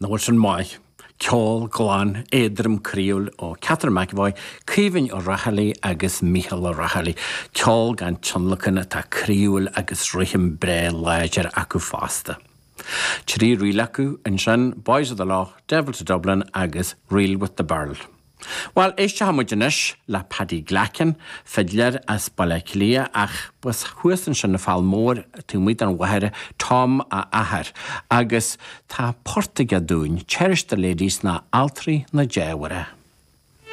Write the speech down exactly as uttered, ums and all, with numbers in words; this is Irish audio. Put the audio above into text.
Nach bhfuil sin maith? Ceol glan, éadrom croíúil ó Catherine McEvoy, Caoimhín Ó Raghallaigh agus Mícheál Ó Raghallaigh. Ceol gan tionlacan atá croíúil agus rithim breá láidir acu fosta. Trí ríl acu ansin Boys of the Lough, Devil to Dublin agus Reel with the Birl. Well éistfidh muid anois le Paddy Glackin, fidléir as Baile Átha Cliath ach b'as thuas ansin an Fál Mór taobh den Mhachaire Tom a athair, agus tá port aige dúinn, Cherish the Ladies ná Altraí na Dea-Mhuire.